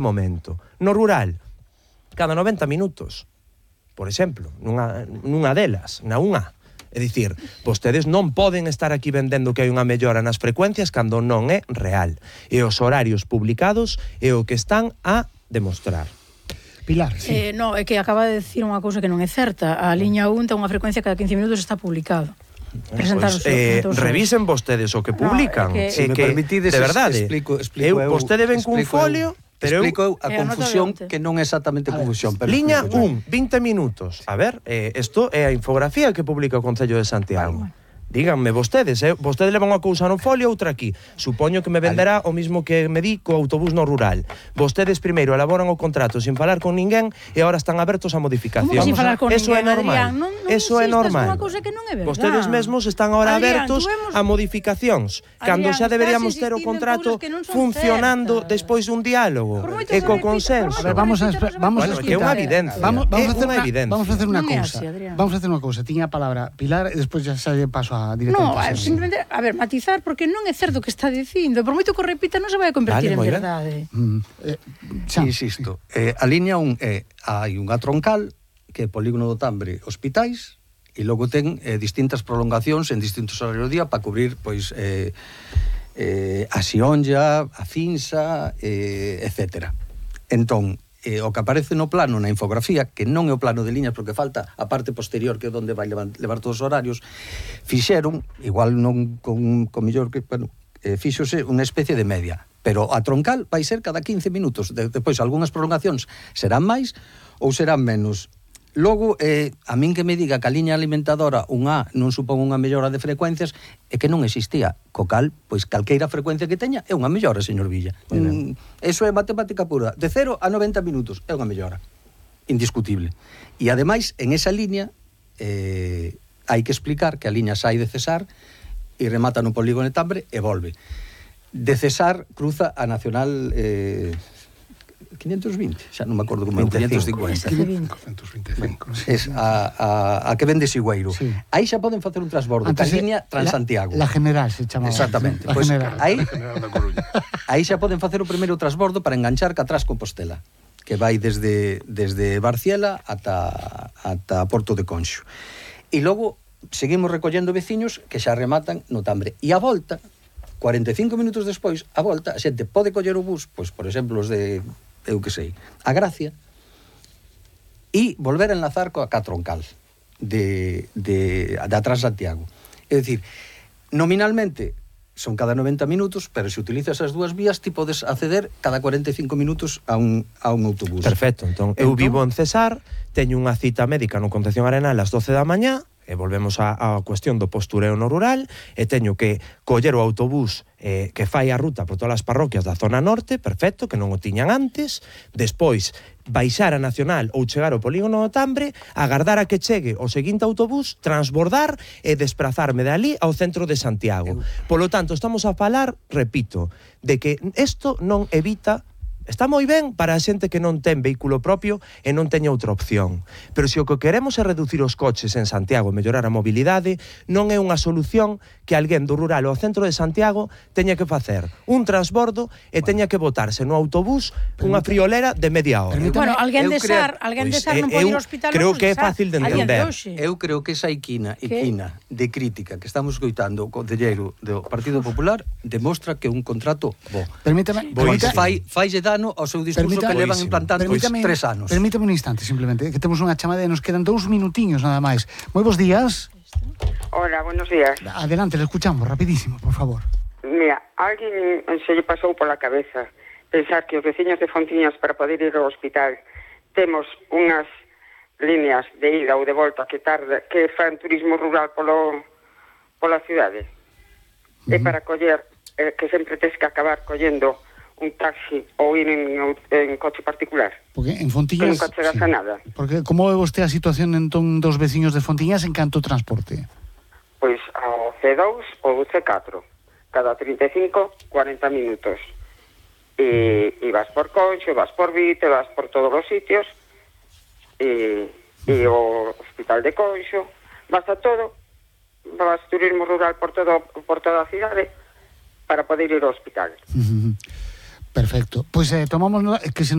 momento. No rural, cada 90 minutos, por exemplo, nunha delas, na unha. É dicir, vostedes non poden estar aquí vendendo que hai unha mellora nas frecuencias cando non é real. E os horarios publicados é o que están a demostrar. Pilar, sí. No, é que acaba de decir unha cousa que non é certa. A liña 1 ten unha frecuencia cada 15 minutos está publicado. Revisen vostedes o que publican. Se me permitides, de verdade, explico vostede ven cun folio, pero explico a confusión, que non é exactamente confusión. Liña 1, 20 minutos. A ver, isto é a infografía que publica o Concello de Santiago. Díganme vostedes, vostedes levan unha cousa no folio, outra aquí. Supoño que me venderá o mismo que me di co autobús no rural. Vostedes primeiro elaboran o contrato sin falar con ninguén e agora están abertos a modificación. Como sin falar con Eso ninguén, é normal. Adrián? Eso é normal. Unha cousa que non é verdad. Vostedes mesmos están agora abertos a modificacións, cando xa deberíamos ter o contrato funcionando despois dun diálogo e co consenso. Vamos a que é unha evidencia. Vamos a facer unha cousa. Vamos a facer unha cousa. Tiña a palabra Pilar e despois xa lle paso a directamente. No, simplemente, a ver, matizar, porque non é certo o que está dicindo. Por moito que o repita, non se vai a convertir en verdade. Insisto, a liña 1 hai unha troncal que é Polígono do Tambre, hospitais, e logo ten distintas prolongacións en distintos horarios do día para cubrir, pois, a Xionlla, a Finsa, etcétera. Entón, o que aparece no plano, na infografía, que non é o plano de liñas porque falta a parte posterior, que é onde vai levar todos os horarios, fixeron, igual non con mellor que, bueno, fíxose unha especie de media, pero a troncal vai ser cada 15 minutos, depois algunhas prolongacións serán máis ou serán menos. Logo, a min que me diga que a liña alimentadora 1A non supón unha mellora de frecuencias, é que non existía. Co cal, pois calqueira frecuencia que teña é unha mellora, señor Villa. Eso é matemática pura. De 0 a 90 minutos é unha mellora. Indiscutible. E ademais, en esa liña, hai que explicar que a liña sai de Cesar e remata no Polígono de Tambre e volve. De Cesar cruza a Nacional 520, xa non me acordo como é, 550. 525. Es a que vende Sigüeiro. Sí. Aí xa poden facer un transbordo, a liña Transantiago. La General se chamaba. Exactamente. Pois aí xa poden facer o primeiro transbordo para enganchar Catras Compostela, que vai desde Barciela ata Porto de Conxo. E logo seguimos recollendo veciños que xa rematan no Tambre. E a volta, 45 minutos despois, a volta, a xente pode coller o bus, pois, por exemplo, os de eu que sei, a Gracia, e volver a enlazar coa Catroncal de atrás Santiago. É dicir, nominalmente son cada 90 minutos, pero se utilizas as dúas vías, ti podes acceder cada 45 minutos a un autobús. Perfecto, entón eu vivo en Cesar, teño unha cita médica no Concepción Arenal ás 12 da mañá, e volvemos á cuestión do postureo no rural, e teño que coller o autobús que fai a ruta por todas as parroquias da zona norte, perfecto, que non o tiñan antes, despois baixar a Nacional ou chegar ao Polígono do Tambre, agardar a que chegue o seguinte autobús, transbordar e desprazarme de ali ao centro de Santiago. Polo tanto, estamos a falar, repito, de que isto non evita. Está moi ben para a xente que non ten vehículo propio e non teña outra opción. Pero se o que queremos é reducir os coches en Santiago e mellorar a mobilidade, non é unha solución que alguén do rural ao centro de Santiago teña que facer un transbordo e teña que botarse no autobús unha friolera de media hora. Bueno, alguén de Sar non pode ir ao hospital. Creo que é fácil de entender. Eu creo que esa equina de crítica que estamos escoitando o concelleiro do Partido Popular demostra que un contrato bo. Permítame, faille dano ao seu discurso que levan implantando 3 anos. Permítame un instante, simplemente, que temos unha chamada e nos quedan 2 minutiños nada máis. Moi bons días. Hola, buenos días. Adelante, le escuchamos, rapidísimo, por favor. Mira, a alguén se lle pasou pola cabeza pensar que os veciños de Fontiñas para poder ir ao hospital temos unhas líneas de ida ou de volta que fan turismo rural pola cidade. E para coller, que sempre tes que acabar collendo un taxi ou ir en coche particular. Porque en Fontiñas... Que nunca chegas a nada. Porque como é vostede a situación entón dos veciños de Fontiñas en canto transporte? Pois ao C2 ou C4, cada 35, 40 minutos. E vas por Conxo, vas por Vite, vas por todos os sitios, e o hospital de Conxo, vas a todo, vas turismo rural por toda a cidade para poder ir ao hospital. Perfecto. Pois tomamos que se